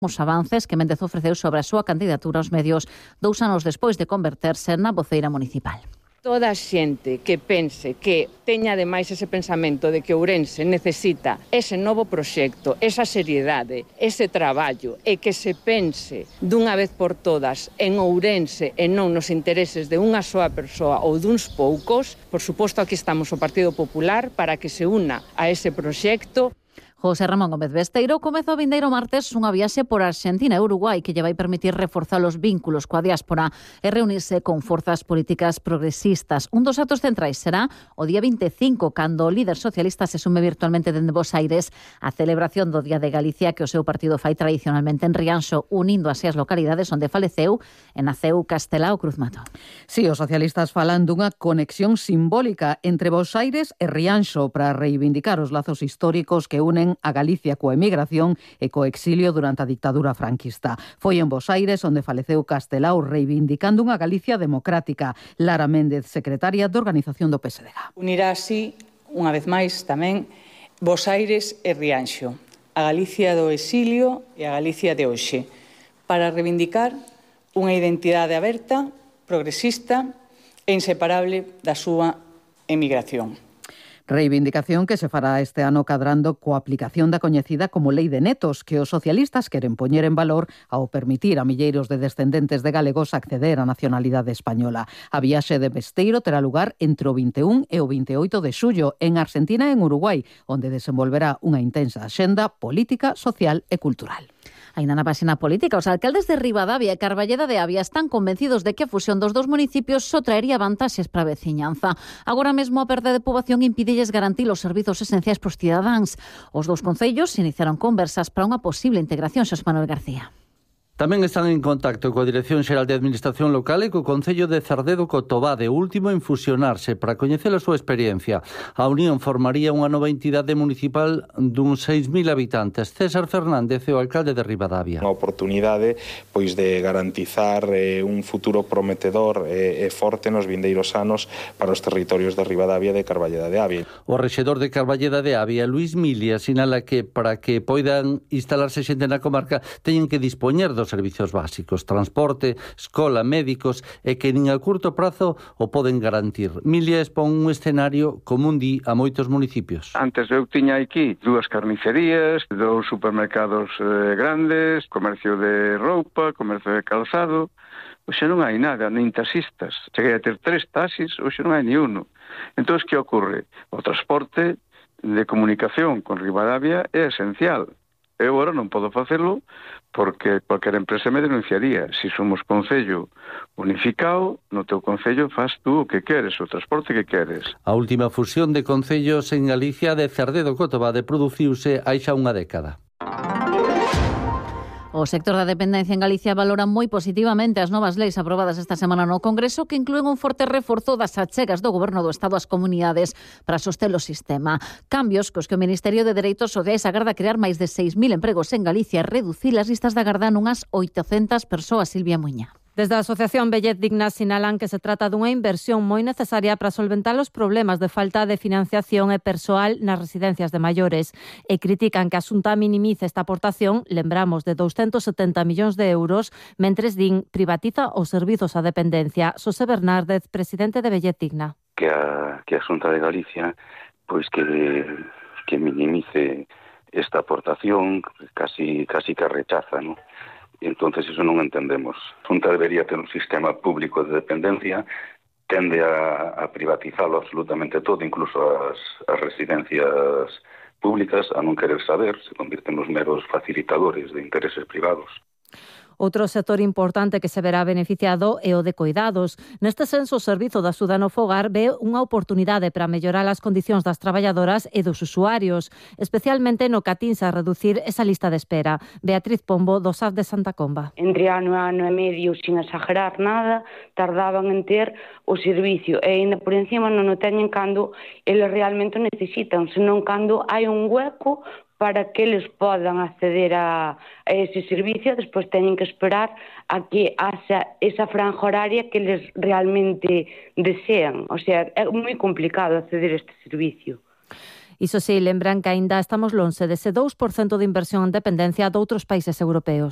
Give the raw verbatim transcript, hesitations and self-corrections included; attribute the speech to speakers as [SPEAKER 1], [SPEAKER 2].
[SPEAKER 1] Os avances que Méndez ofreceu sobre a súa candidatura aos medios dous anos despois de converterse na voceira municipal.
[SPEAKER 2] Toda a xente que pense que teña ademais ese pensamento de que Ourense necesita ese novo proxecto, esa seriedade, ese traballo e que se pense dunha vez por todas en Ourense e non nos intereses de unha soa persoa ou duns poucos, por suposto aquí estamos o Partido Popular para que se una a ese proxecto.
[SPEAKER 1] José Ramón Gómez Besteiro comezou o vindeiro martes unha viaxe por Argentina e Uruguai que lle vai permitir reforzar os vínculos coa diáspora e reunirse con forzas políticas progresistas. Un dos actos centrais será o día vinte e cinco, cando o líder socialista se sume virtualmente dende Bos Aires a celebración do Día de Galicia que o seu partido fai tradicionalmente en Rianxo, unindo así as localidades onde faleceu e naceu Castelao Cruzmato.
[SPEAKER 3] Si, os socialistas falan dunha conexión simbólica entre Bos Aires e Rianxo para reivindicar os lazos históricos que unen a Galicia coa emigración e co exilio durante a dictadura franquista. Foi en Bos Aires onde faleceu Castelao reivindicando unha Galicia democrática. Lara Méndez, secretaria de organización do P S D G.
[SPEAKER 4] Unirá así, unha vez máis, tamén Bos Aires e Rianxo, a Galicia do exilio e a Galicia de hoxe, para reivindicar unha identidade aberta, progresista e inseparable da súa emigración.
[SPEAKER 3] Reivindicación que se fará este ano cadrando coa aplicación da coñecida como Lei de Netos, que os socialistas queren poñer en valor ao permitir a milleiros de descendentes de galegos acceder á nacionalidade española. A viaxe de Besteiro terá lugar entre o vinte e un e o vinte e oito de xullo en Argentina e en Uruguai, onde desenvolverá unha intensa axenda política, social e cultural.
[SPEAKER 1] Ainda na páxina política, os alcaldes de Ribadavia e Carballeda de Avia están convencidos de que a fusión dos dous municipios só traería vantaxes para a veciñanza. Agora mesmo a perda de poboación impídelles garantir os servizos esenciais pros cidadáns. Os dous concellos iniciaron conversas para unha posible integración, Xosé Manuel García.
[SPEAKER 5] Tamén están en contacto coa Dirección Xeral de Administración Local e co Concello de Cerdedo Cotobade, último en fusionarse para coñecer a súa experiencia. A unión formaría unha nova entidade municipal duns seis mil habitantes. César Fernández é o alcalde de Ribadavia.
[SPEAKER 6] Unha oportunidade pois de garantizar eh, un futuro prometedor e eh, forte nos vindeiros anos para os territorios de Ribadavia e de Carballeda de Avia.
[SPEAKER 5] O rexedor de Carballeda de Avia, Luís Milia, sinala que para que poidan instalarse xente na comarca teñen que dispoñer dos servizos básicos, transporte, escola, médicos e que nin a curto prazo o poden garantir. Milia expón un escenario común di a moitos municipios.
[SPEAKER 7] Antes eu tiña aquí dúas carnicerías, dous supermercados eh, grandes, comercio de roupa, comercio de calzado. Hoxe non hai nada, nin taxistas. Cheguei a ter tres taxis, hoxe non hai ni uno. Entón, que ocorre? O transporte de comunicación con Ribadavia é esencial. Eu agora non podo facelo porque cualquier empresa me denunciaría. Si somos concello unificado, no teu concello faz tú o que queres, o transporte que queres.
[SPEAKER 5] A última fusión de concellos en Galicia de Cerdedo Cotobade produciuse hai xa unha década.
[SPEAKER 1] O sector da dependencia en Galicia valora moi positivamente as novas leis aprobadas esta semana no Congreso que inclúen un forte reforzo das achegas do Goberno do Estado ás comunidades para soster o sistema. Cambios cos que o Ministerio de Dereitos Sociais agarda crear máis de seis mil empregos en Galicia e reducir as listas de agarda nunhas oitocentas persoas, Silvia Muña.
[SPEAKER 8] Desde a Asociación Bellet Digna sinalan que se trata dunha inversión moi necesaria para solventar os problemas de falta de financiación e persoal nas residencias de maiores e critican que a Xunta minimice esta aportación, lembramos, de douscentos setenta millóns de euros, mentres din privatiza os servizos á dependencia. Xosé Bernárdez, presidente de Bellet Digna.
[SPEAKER 9] Que a, que a Xunta de Galicia pois que, que minimice esta aportación, casi, casi que rechaza, ¿no? E entonces eso non entendemos. A Xunta debería ter un sistema público de dependencia, tende a, a privatizarlo absolutamente todo, incluso as, as residencias públicas, a non querer saber, se convirten nos meros facilitadores de intereses privados.
[SPEAKER 8] Outro sector importante que se verá beneficiado é o de coidados. Neste senso, o Servizo de Axuda no Fogar ve unha oportunidade para mellorar as condicións das traballadoras e dos usuarios, especialmente no que atinse a reducir esa lista de espera. Beatriz Pombo, do S A F de Santa Comba.
[SPEAKER 10] Entre ano e ano e medio, sin exagerar nada, tardaban en ter o servicio e ainda por encima non o teñen cando eles realmente o necesitan, senón cando hai un hueco para que eles podan acceder a, a ese servicio, despois teñen que esperar a que haxa esa franja horaria que eles realmente desean. O sea, é moi complicado acceder a este servicio.
[SPEAKER 8] Iso sí, lembran que aínda estamos lonxe dese dous por cento de inversión en dependencia doutros países europeos.